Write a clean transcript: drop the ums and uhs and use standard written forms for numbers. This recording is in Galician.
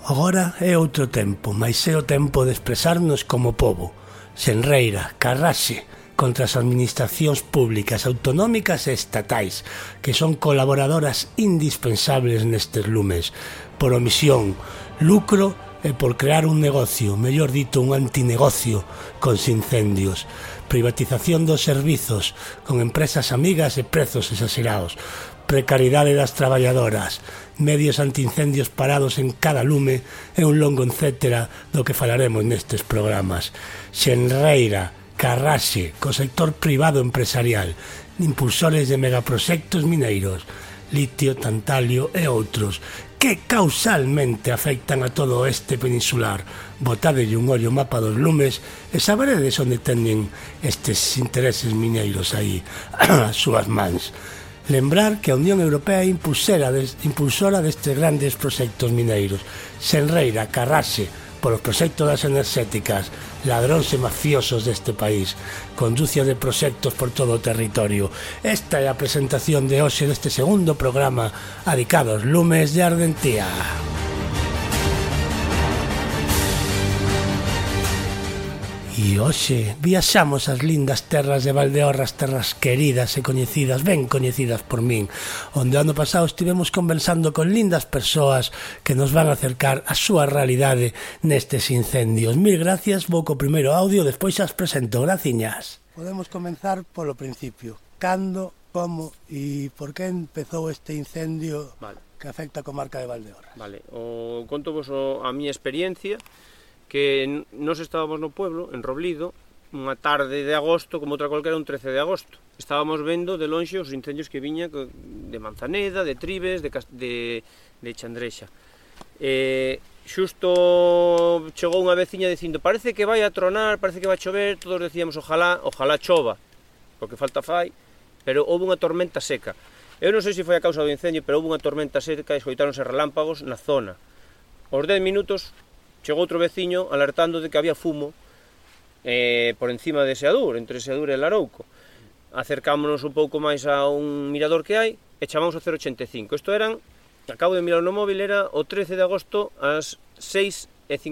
Agora é outro tempo, mais é o tempo de expresarnos como pobo. Senreira, carraxe contra as administracións públicas, autonómicas e estatais, que son colaboradoras indispensables nestes lumes, por omisión, lucro e por crear un negocio, mellor dito un antinegocio, cos incendios, privatización dos servizos, con empresas amigas e prezos exagerados, precariedade das traballadoras, medios antiincendios parados en cada lume e un longo etcétera do que falaremos nestes programas. Xenreira, carraxe, co sector privado empresarial, impulsores de megaproxectos mineiros, litio, tantalio e outros, que causalmente afectan a todo o oeste peninsular. Botadelle un ollo mapa dos lumes e saberedes onde teñen estes intereses mineiros aí, as súas mans. Lembrar que a Unión Europea é impulsora destes grandes proxectos mineiros. Senreira, carraxe, polos proxectos das enerxéticas, ladróns e mafiosos deste país, conducia de proxectos por todo o territorio. Esta é a presentación de hoxe deste segundo programa adicado aos lumes de Ardentía. E hoxe viaxamos ás lindas terras de Valdeorras, terras queridas e coñecidas, ben coñecidas por min, onde ano pasado estivemos conversando con lindas persoas que nos van a acercar a súa realidade nestes incendios. Mil gracias, vou co primeiro audio, despois as presento. Graciñas. Podemos comenzar polo principio. Cando, como e por que empezou este incendio que afecta a comarca de Valdeorras? Conto vos a miña experiencia, que nos estábamos no pueblo, en Roblido, unha tarde de agosto, como outra cualquera, un 13 de agosto. Estábamos vendo de lonxe os incendios que viña de Manzaneda, de Tribes, de Chandrexa. Xusto chegou unha veciña dicindo: parece que vai a tronar, parece que vai a chover. Todos decíamos ojalá chova, porque falta fai, pero houve unha tormenta seca. Eu non sei se foi a causa do incendio, pero houve unha tormenta seca e escoitáronse relámpagos na zona. Aos 10 minutos chegou outro veciño alertando de que había fumo por encima de Seadur, entre Seadur e Larouco. Acercámonos un pouco máis a un mirador que hai e chamamos o 085. Isto eran, acabo de mirar no móvil, era o 13 de agosto ás 6